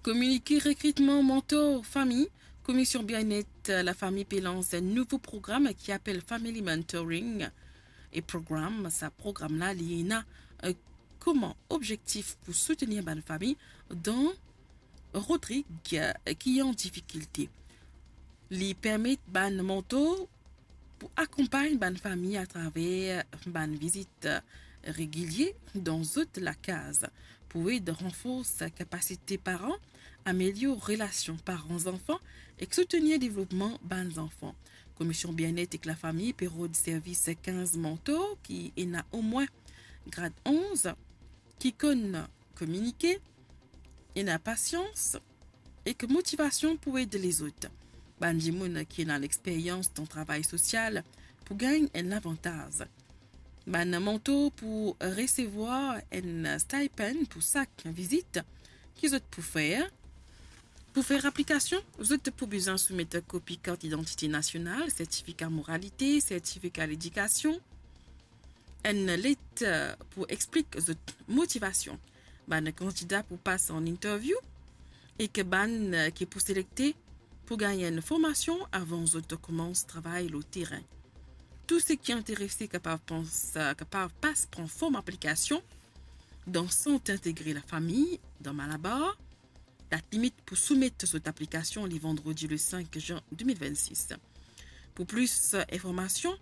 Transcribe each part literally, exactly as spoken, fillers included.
Kominike rekritman mantor fami. Komisyon Bienet Lafami pe lans enn nouvo program ki apel Family Mentoring. E program, sa program la, li ena, eh, kouma objektif pou soutenir bann fami dan Rodrig, eh, ki an difikilte. Li permet bann mantor pou akonpagn bann fami atraver bann vizit regilie dan zot lakaz, pou ed ranfors kapasite paran, amelior relasion paran-zanfan ek soutenir devlopman bann zanfan. Komisyon Bienet ek Lafami pe rod servis kinz mantor ki ena omwin grad onz, ki konn kominike, ena pasians ek motivasion pou ed lezot. Bann dimoun ki ena lexperyans dan travay sosial pou gagn enn lavantaz. Bann mantor pou resevwar enn stipend pou sak vizit ki zot pou fer. Pou fer aplikasion, zot pou bizin soumet kopi kart idantite nasional, sertifika moralite, sertifika ledikasion, enn let, eh, pou explik zot motivasion. Bann kandida pou pas an interview ek bann, eh, ki pou selekte pou gagn enn formasion avan zot koumans travay lor terin. Tou seki interese kapav pans, eh, kapav pas pran form aplikasion dan Sant Integre Lafami, dan Malabar. Dat limit pou soumet zot aplikasion li vandredi le cinq juin deux mille vingt-six. Pou plis, eh, informasion,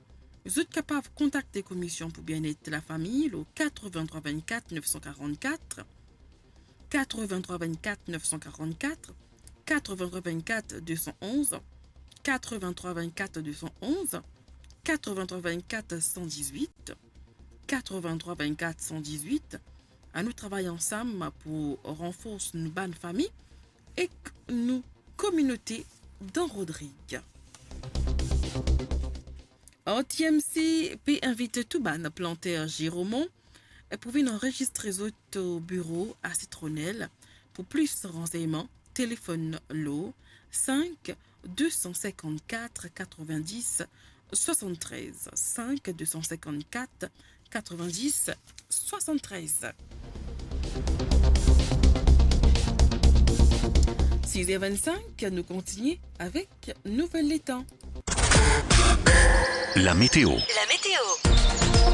zot kapav kontakte Komisyon pou Bienet Lafami lor quatre-vingt-trois vingt-quatre neuf cent quarante-quatre, quatre-vingt-trois vingt-quatre neuf cent quarante-quatre, quatre-vingt-trois vingt-quatre deux cent onze, quatre-vingt-trois vingt-quatre deux cent onze, quatre-vingt-trois vingt-quatre cent dix-huit, quatre-vingt-trois vingt-quatre cent dix-huit. Anou travay ansam pou ranfors nou bann fami ek nou kominote dan Rodrig. R T M C pe invit tou bann planter Giromont pou vinn anrezistre zot o biro a Citronelle. Pou plis ransegnman, telefonn lor cinq deux cent cinquante-quatre quatre-vingt-dix soixante-treize, cinq deux cent cinquante-quatre quatre-vingt-dix soixante-treize. Six heures vingt-cinq, nou kontinie avek nouvel letan. La météo. La météo.